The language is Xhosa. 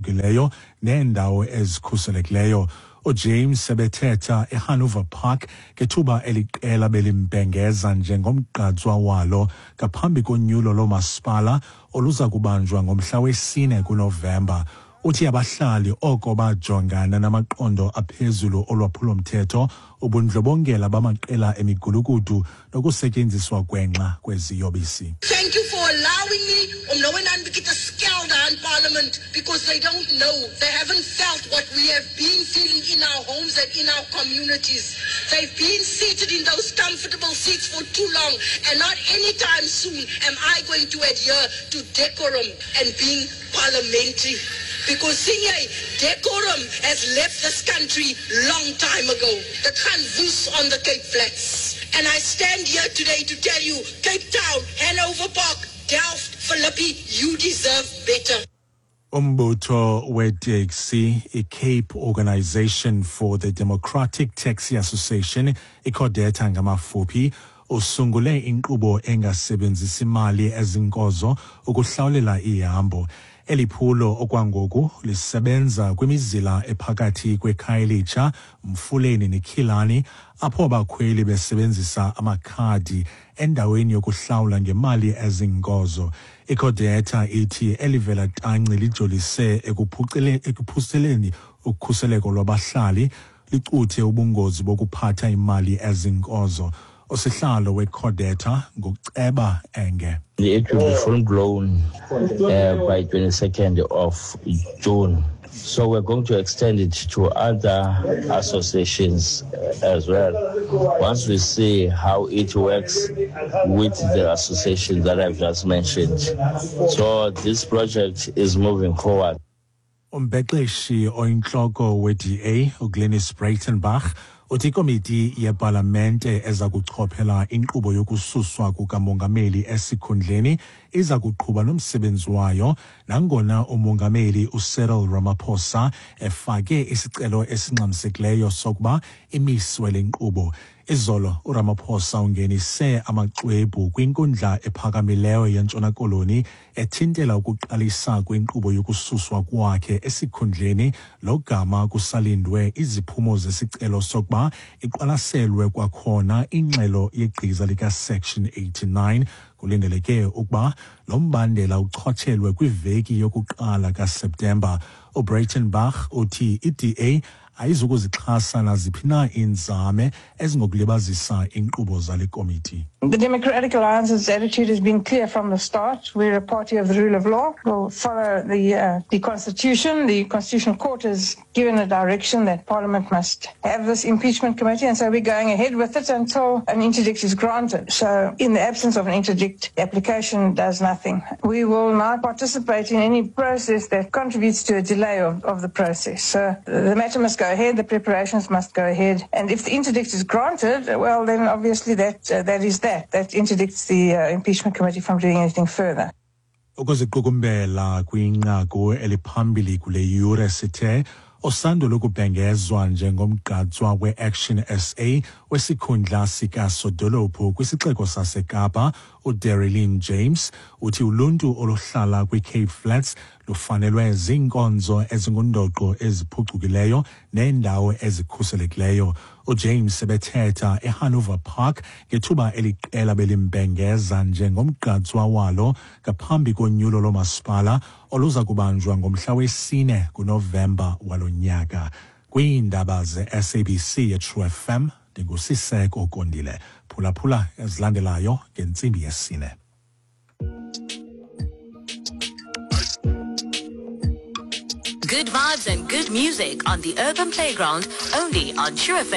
eziphucukileyo neendawo ezikhuselekileyo. UJames ebethetha eHanover Park ngethuba eliqela belimbhengeza njengomgqatswa walo ngaphambi konyulo loomasipala oluza kubanjwa ngomhla wesine kuNovemba. Uthi abahlali oko bajongana namaqondo aphezulu olwaphulomthetho, ubundlobongela bamaqela emigulukudu nokusetyenziswa gwenxa kweziyobisi. Thank you for allowing me om nou en dan bietjie te skel daar in parliament because they don't know, they haven't felt what we have been feeling in our homes and in our communities. They've been seated in those comfortable seats for too long and not anytime soon am I going to adhere to decorum and being parliamentary. Because sien jy, decorum has left this country long time ago. Dit gaan woes on the Cape Flats. And I stand here today to tell you, Cape Town, Hanover Park, Delft, Philippi, you deserve better. Umbutho weteksi iCape Organisation for the Democratic Taxi Association, iCodeta ngamafuphi, usungule inkqubo engasebenzisi mali ezinkozo ukuhlawulela ihambo. Eli phulo okwangoku lisebenza kwimizila ephakathi kweKhayelitsha, Mfuleni neKhilani, apho abakhweli besebenzisa amakhadi endaweni yokuhlawula ngemali ezinkozo. ICodeta ithi elivela tanci lijolise ekuphuceleni ukhuseleko lwabahlali, licuthe ubungozi bokuphatha imali ezinkozo. Usihlalo weCodeta nguCeba Enge. It will be full blown by 22nd of June. So we're going to extend it to other associations as well. Once we see how it works with the association that I've just mentioned. So this project is moving forward. Umbexeshi oyintloko we-DA uGlynnis Breytenbach uthi ikomiti yepalamente eza kuchophela inkqubo yokususwa kukamongameli esikhundleni iza kuqhuba nomsebenzi wayo nangona umongameli uCyril Ramaphosa efake isicelo esingxamisekileyo sokuba imiswe le nkqubo. Izolo uRamaphosa ungenise amaxwebhu kwinkundla ephakamileyo yeNtshona Koloni ethintela ukuqalisa kwenkqubo yokususwa kwakhe esikhundleni logama kusalindwe iziphumo zesicelo sokuba iqwalaselwe kwakhona ingxelo yegqiza likaSection 89. Kulindeleke ukuba lo mbandela uchotshelwe kwiveki yokuqala kaSeptemba. UBreytenbach uthi iDA ayizukuzixhasa naziphi na iinzame ezingokulibazisa iinkqubo zale komiti. The Democratic Alliance's attitude has been clear from the start. We're a party of the rule of law. We'll follow the Constitution. The Constitutional Court has given a direction that Parliament must have this impeachment committee, and so we're going ahead with it until an interdict is granted. So in the absence of an interdict, the application does nothing. We will not participate in any process that contributes to a delay of the process. So the matter must go ahead, the preparations must go ahead, and if the interdict is granted, well, then obviously that is that. That interdicts the impeachment committee from doing anything further. Ukuziqukumbela kwinqaku eliphambili kule yure sithe osandula ukubhengezwa njengomgqatswa we-Action SA wesikhundla sikasodolophu kwisixeko saseKapa uDereleen James uthi uluntu oluhlala kwiCape Flats lufanelwe ziinkonzo ezingundoqo eziphucukileyo neendawo ezikhuselekileyo. UJames ebethetha eHanover Park ngethuba eliqela belimbhengeza njengomgqatswa walo ngaphambi konyulo loomasipala oluza kubanjwa ngomhla wesine kuNovemba walo nyaka. Kwiindaba ze-SABC yeTrue FM ndinguSiseko Kondile. Phulaphula ezilandelayo ngentsimbi yesine. Good vibes and good music on the Urban Playground, only on True FM.